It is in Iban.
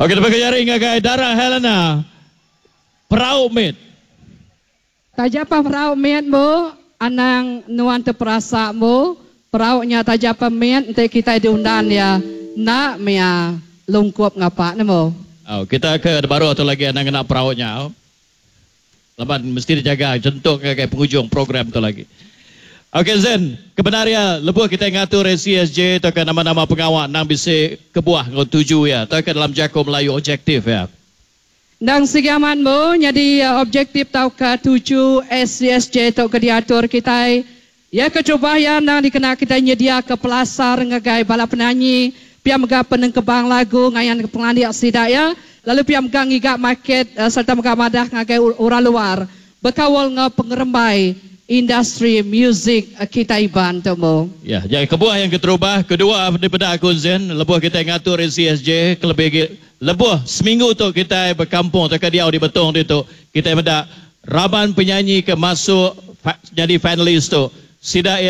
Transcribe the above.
Okey, terima kasih ngagai Dara Helena. Perau mit. Taja pa perau mit bu, anang nuan teperasa bu, perau nya taja pa mit enti kitai diundan iya enda mia lungkup ngapa nemu. Au, kita ke baruh tu lagi anang ngena perau nya au. Laban mesti dijaga jentuk ngagai pengujung program tu lagi. Okey Zen, kebenar iya lebuh kitai ngatur ACSJ tauka nama-nama pengawa endang bisi kebuah enggau tuju iya tauka dalam jaku Melayu objektif iya. Endang sigi amat embu nyadi objektif tauka tuju ACSJ tu ke diatur kitai. Iya keterubah iya endang dikena kitai nyediaka pelasar ngagai bala penanyi pia mega penengkebang lagu ngayanka pengelandik sida iya lalu pia mega ngiga market sereta mega madah ngagai orang luar Bekaul enggau pengerembai industri muzik kitai Iban tu embu. Ya, nya kebuah yang keterubah, kedua dipeda aku Zen, lebuh kitai ngatur ACSJ kelebih agi lebuh seminggu tu kitai bekampung tauka diau di Betong ditu, kitai meda raban penyanyi ke masuk nyadi finalis tu, sida iya.